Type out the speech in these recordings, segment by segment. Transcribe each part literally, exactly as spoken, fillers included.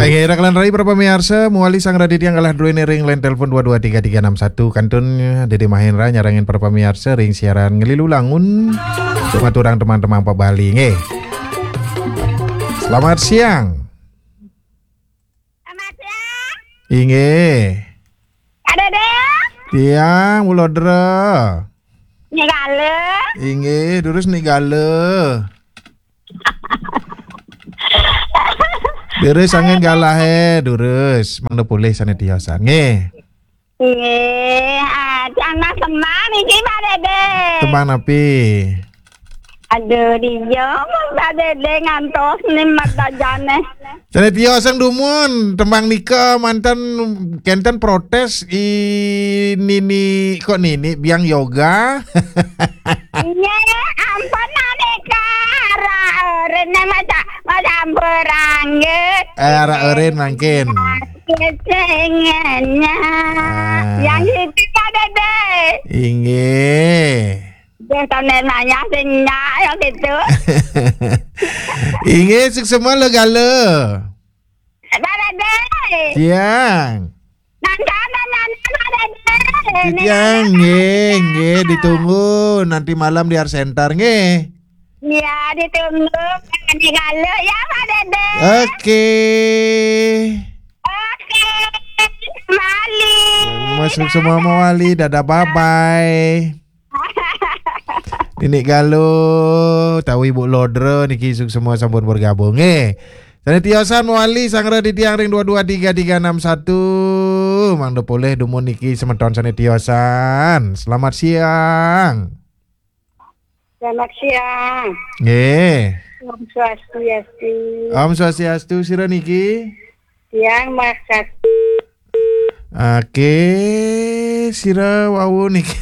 Oke, rekan rai para pamiarsa, mawali sang raditya galah druene ring line telepon dua dua tiga tiga enam satu. Kantun Dede Mahendra nyarengin para pamiarsa ring siaran Ngelilu Langun. Tumaturang teman-teman pa Bali, nggih. Selamat siang. Selamat siang. Inggih. Ada deh. Tiang, Bulodra. Nigala. Inggih, durus nigala. Durus angin galahe, durus. Mangda polih sane tiosan. Nggih. Nggih, ah, tiang nah semang niki, Pak Dede. Semang napi? Aduh, dia, Pak Dede ngantos ni madajane. Sane tiosan dumun, tembang nika manten kenten protes i nini, kok nini biang yoga. Iya, ampun, aneka. Ara, rene maca, maca berangge. Eh, ara eren mangkin. Kecengennya. Ah. Yang itu, Pak Dede. Inggih. Dia sambil nanya, sing nyak, yang gitu. Inggih, suksema le gala. Pak Dede. Tiang. Nanta, nanta, nanta, Pak Dede. Tiang, nggih, nggih, ditunggu nanti malam di Art Center, nggih. Iya, ditunggu. Nanti kalau ya, Pak Dede. Oke. Oke. Mali. Masuk semua mawali. Dadah, bye-bye. Nini Galuh, tawi Bulodra niki suksema sampun bergabung. Eh, sane tiosan mawali sang raditya ring dua dua tiga tiga enam satu. Mangda polih dumun niki semeton sane tiosan. Selamat siang. Selamat siang. Nggih. Om Swastiastu. Om Swastiastu, sira niki? Tiang Mas Kat- Oke, sira wau niki.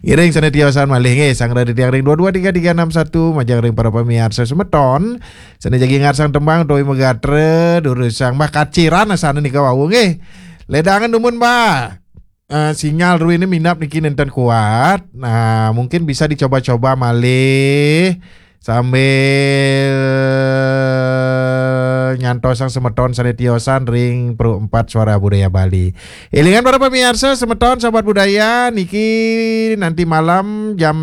Ngiring sane tiosan malih nggih, sang raditya ring dua dua tiga tiga enam satu, majeng ring para pamiarsa semeton. Sane jagi ngarsang tembang utawi magatra, durusang Mbah Kaciran asane nika wau nggih. Ledangan dumun, Mbah. Eh, sinyal druene minab niki nenten kuat. Nah, mungkin bisa dicoba-coba malih sambil nyantosang semeton sane tiosan ring Pro empat Suara Budaya Bali. Elingan para pamiarsa, semeton sahabat budaya niki nanti malam jam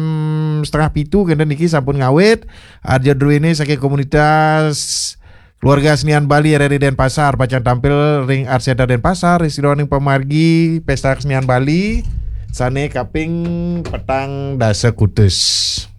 setengah pitu kenten niki sampun ngawit. Arja druene saking komunitas Keluarga Senian Bali R R I Denpasar pacang tampil ring Art Center Denpasar, ring sajeroning pamargi Pesta Kesenian Bali sane kaping petang dasa kutus.